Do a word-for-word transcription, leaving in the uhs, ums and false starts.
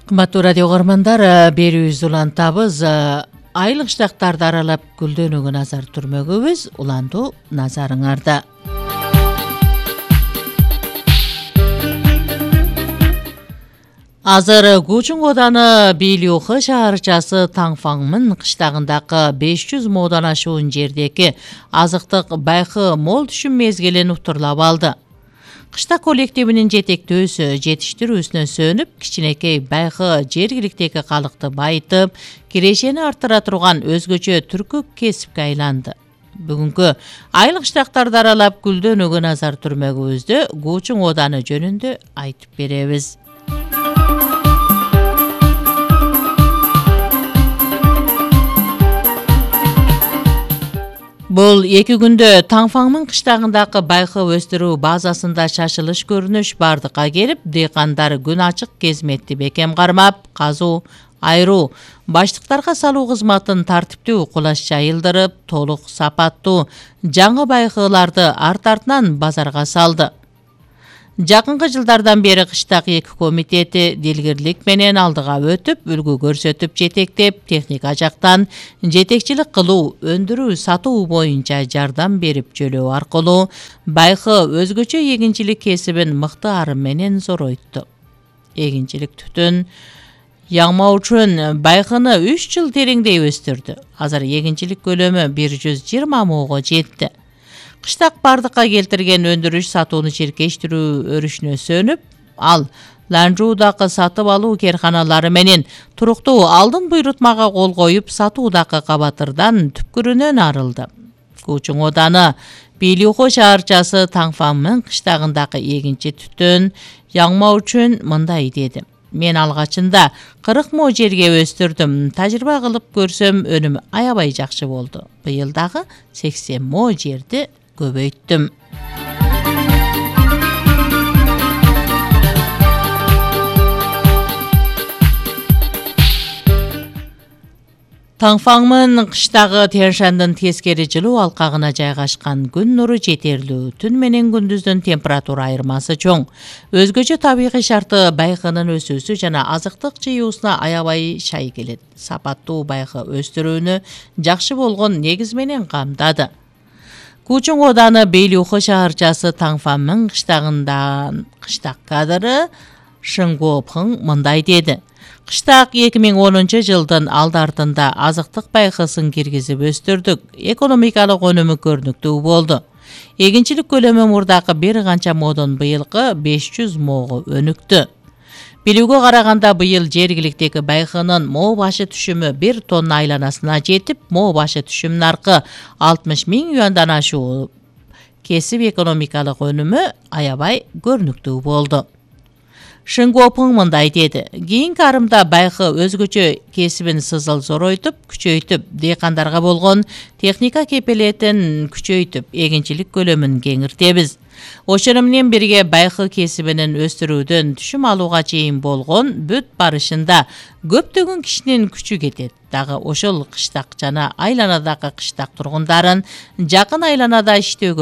Кымбаттуу радио көрөрмандар, берүүбүз улантабыз. Айыл кыштактарды аралап гүлдөнүүгө назар түрмөгөбүз. Улантуу назарыңарда. Азыр Кучуң Оданы Бийлюхы шаарчасы Таңфаңмын кыштагындагы беш жүз моодан ашуун жердеги азыктык байкы мол түшүм мезгилин уктурлап алды. Кыштак коллективинин жетектөөсү жетиштирүүсүнө сөнүп, кичинекей байкы жергиликтеги калыкты байытып, кирешени арттыра турган өзгөчө түркү кесипке айланды. Бүгүнкү айыл кыштактарды аралап гүлдөнүүгө назар түрмөгүбүздө Кучуң Оданы жөнүндө айтып беребиз. Бул эки күндө Таңфаңмын кыштагындагы байкы өстүрүү базасында шашылыш көрүнүш бардыкка келип, дыйкандар күн ачык кезметти бекем кармап, казуу, айруу, баштыктарга салуу кызматын тартиптүү кулаш жайылдырып, толук сапаттуу жаңы байкыларды арт-артынан базарга салды. Жакынкы жылдардан бери кыштак эки комитети дилгирлик менен алдыга өтүп, үлгү көрсөтүп жетектеп, техника жактан жетекчилик кылуу, өндүрүү, сатуу боюнча жардам берип жөлөө аркылуу байкы өзгөчө эгинчилик кесибин мыкты ары менен зоройту. Эгинчилик түтүн яңмоо үчүн байкыны үч жыл тереңдей өстүрдү. Азыр эгинчилик көлөмү бир жүз жыйырма моого жетти. Кыштак бардыкка келтирген өндүрүш сатууну чиркештирүү өрүшүнө сөнүп, ал Ланжуудагы сатып алуу керканалары менен туруктуу алдын буйрутмага кол коюп, сатуудагы кабатырдан түпкүрүнөн арылды. Кучуң Оданы Бийлюхы шаарчасы Таңфаңмын кыштагындагы эгинчи түтүн яңмоо үчүн мындай деди: Мен алгачында кырк мо жерге өстүрдүм. Тажрыйба кылып көрсөм, өнүм аябай жакшы болду. Быйыл дагы сексен мо жерди көбөйттүм. Таңфаңмын кыштагы Тянь-Шандын тескери жылуу алкагына жайгашкан күн нуру жетерлүү. Түн менен күндүздүн температура айырмасы чоң. Өзгөчө табигый шарты байкынын өсүүсү жана азыктык жыюусуна аябай шай келет. Сапаттуу байкы өстүрүүнү жакшы болгон негиз менен камдады. Кучуң Оданы Бийлюхы шаарчасы Таңфаңмын кыштагындан кыштак кадры Шыңгуопхың мындай деди: Кыштак эки миң онунчу жылдын алды артында азыктык байкысын киргизип өстүрдүк. Экономикалык өнүмү көрүнүктүү болду. Эгинчилик көлөмү мурдакы бир канча модон быйылкы беш жүз моого өнүктү. Билүүгө караганда быйыл жергиликтеги байкынын мо башы түшүмү бир тонна айланасына жетип, мо башы түшүм наркы алтымыш миң юандан ашуу. Кесип экономикалык өнүмү аябай көрүнүктүү болду. Шыңгуопхың мындай деди: Кийинки арымда байкы өзгөчө кесибин сызыл зоройтуп, күчөйтүп, дыйкандарга болгон техника кепилетин күчөйтүп, эгинчилик көлөмүн кеңиртебиз. Ошону менен бирге байкы кесибинин өстүрүүдөн түшүм алууга чейин болгон бүт барышында көптөгөн кишинин күчү кетет. Дагы ошол кыштак жана айланадагы кыштак тургундарын жакын айланада иштөөгө